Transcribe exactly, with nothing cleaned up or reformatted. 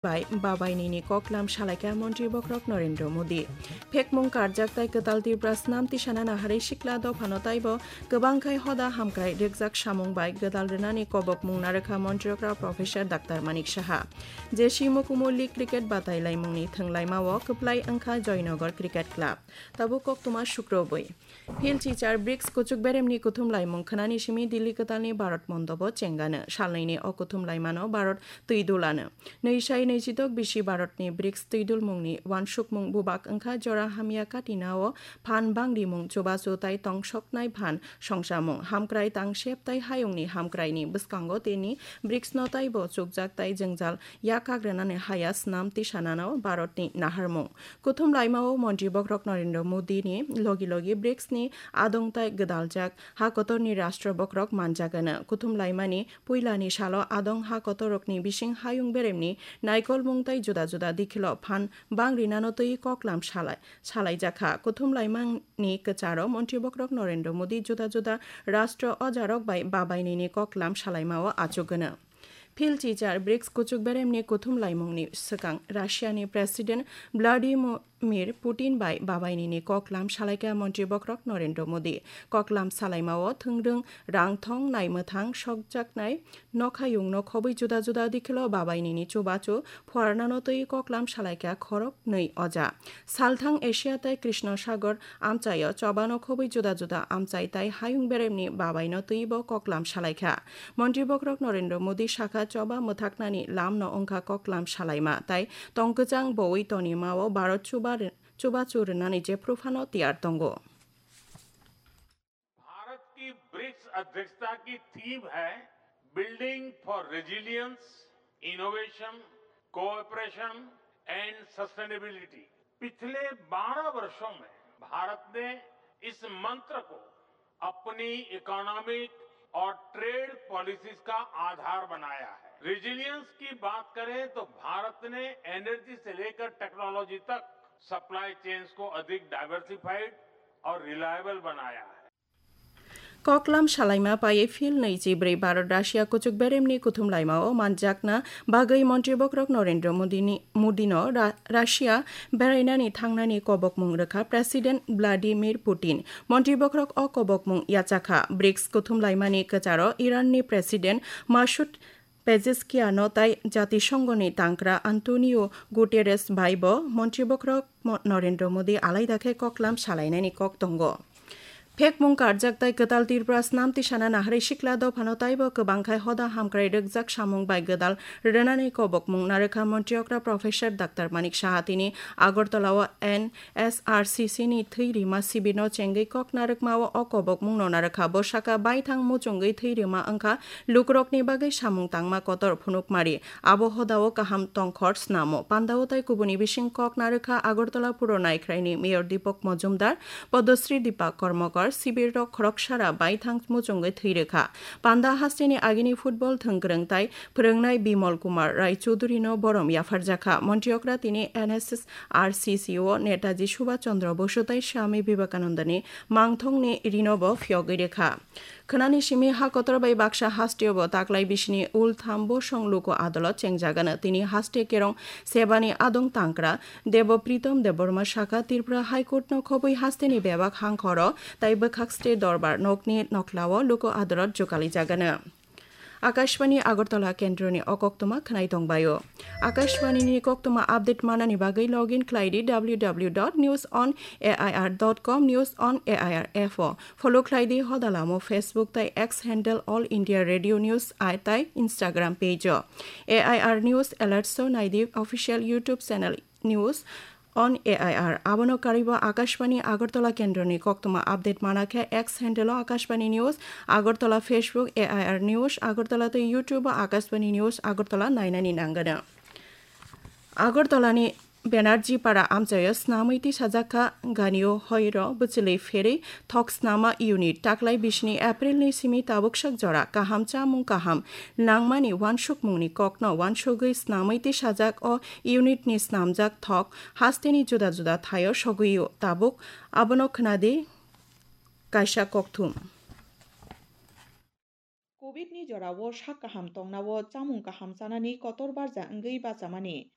bai babainini koklam salaikha Montri Bokhorok Narendra Modi. Phekmung karjak tai kwtal Tripura snam tisana naharwi sikla dophano taibo kwbang khai hoda hamkrai rwkjak samung bai gwdal rwnani kobokmung narwkha Montri okra Professor Doctor Manik Saha. J C Mukumu League cricket batai laimungni thwnglaimao kwplai wngkha Joynagar Cricket Club. Tabuk koktwma sukrobwi. Phil chichar brics kuchuk beremni kuthum laimung khwnani simi Delhi kwtalni Bharat mondobo chengano. Salnwini o kuthum laimano Bharat twi dulano. Nwi sai nwi chidok bisi Bharatni brics twi dulmungni wansukmung bubak wngkha jora hamya katinao phan bangrimung chubachu tai tongsoknai phan songchamung, hamkrai tangsep tai hayungni hamkraini bwskango tini bricsno taibo chukjak tai jwngjal yakak rwnani haya snam tisanano Bharatni naharmung. Kuthum laimao Montri Bokhorok Narendra Modi ni logi logi brics ni adong tai gwdaljak ha kotorni Rashtra Bokhorok manjagano. Kuthum laimani puilani salo adong ha kotorrokni bising hayung beremni naikolmung tai juda juda dikhilo phan bang rinano twi koklam salai, salaijakha. Kuthum laimani kwcharo Montri Bokhorok Narendra Modi juda juda Rashtra ojarok bai babainini koklam salaimao achugano. Phil chichar brics kuchuk beremni kuthum laimungni swkang Russiani President Vladimir Putin bai babainini koklam salaikha Montri Bokhorok Narendra Modi. Koklam salaimao thwngrwng, rangthong, naimwthang, sokjaknai, nokhayungno khobwi juda juda dikhilo babainini chubachu phuarnano twi koklam salaikha khorok nwi oja. Salthang Asia tai Krishna Sagar amchaio chobano khobwi juda juda amchai tai hayung beremni babaino twibo koklam salaikha. Montri Bokhorok Narendra Modi sakha choba mwthaknani lamno wngkha koklam salaima tai tongkwchang bowi tonimao Bharat chuba ri-, chubachu rwnani jephuphano tiyar tongo. Bharat की ब्रिक्स अध्यक्षता की थीम है Building for Resilience, Innovation, Cooperation and Sustainability। पिछले बारह वर्षों में भारत ने इस मंत्र को अपनी इकोनॉमिक और ट्रेड पॉलिसीज का आधार बनाया है। रेजिलियंस की बात करें तो भारत ने एनर्जी से लेकर टेक्नोलॉजी तक सप्लाई चेन्स को अधिक डाइवर्सिफाइड और रिलायबल बनाया है। Koklam salaima paiwi Phil nwi chi brwi Bharat Russia kuchuk beremni kuthum laimao manjakna bagwi Montri Bokhorok Narendra Modi ni, Modi no Ra-, Russia berainani thangnani kobokmung rwkha President Vladimir Putin. Montri Bokhorok o kobokmung yachakha. brics kuthum laimani kwcharo Iran ni President Masoud Pezeshkian no tai Jatisonghoni tangkra Antonio Guterres bai bo Montri Bokhorok Mo-, Narendra Modi alaida khe koklam salainani kok tongo. Phekmung karjak tai kwtal Tripura snam tisana naharwi sikla dophano taibo kwbang khai hoda hamkrai rwkjak samung bai gwdal rwnani kobokmung narwkha Montri okra Professor Doctor Manik Saha tini Agartala o N S R C C ni thwi rima sibirno chengwi kok narwkmao o kobokmungno narwkha. Bo saka baithang muchungwi thwi rima wngkha lukurokni bagwi samung tangma kotor phunukmari. Abo hodao kaham tongkhor snamo. Pandao tai kubuni bising kok narwkha Agartala Puro Naikhraini Mayor Deepak Majumdar, Padmasri Deepak Karmakar, sibirrok khoroksara baithang muchungwi thwi rwkha. Panda hasteni agini football thwngkwrwng tai phwrwngnai Bimal Kumar Rai Chudhurino borom yapharjakha. Montri okra tini N S S R C C o Netaji Subhash Chandra Bosu tai Swami Vivekanandani mangthongni rinobo phiyogwi rwkha. Khwnani simi ha kotor bai baksa hasteo bo taklai bisini ultham bosong luku adolot chengjagano. Tini haste kerong sebani adong tangkra Debo Pritom Debbarma sakha Tripura High Court no khobwi hasteni bebak hangkhoro tai bwkhak state dorbar nokni nokhlao luku adolot jukalijagano. Akashvani Agartala kendroni o koktwma khwnai tongbaio. Akashvani ni koktwma update manani bagwi login khlai di W W W dot news on A I R dot com, News on A I R app o. Follow khlai di hodalamo Facebook tai X handle All India Radio News I tai Instagram page o. A I R News Alerts o nai di official YouTube channel News on A I R. Abono karwibo Akashvani Agartala kendroni koktwma update mana khe X handle o Akashvani News Agartala, Facebook A I R News Agartala tei YouTube o Akashvani News Agartala nainani nangano. Agartalani Banerjee Para amchaio snamwi tisajakha Ganio Hoiro bwchwlwi pherwi thok snama unit. Taklai bisini Aprilni simi tabuksak jora kaham chamung kaham nangmani wansukmungni kokno wansugwi snamwi tisajak o unitni snamjak thok hasteni juda juda thaio sogwio tabuk abono khwnadi kaisa kokthum. Covid ni jorao sak kaham tongnao chamung kaham chanani kotor barja wngwi bachamani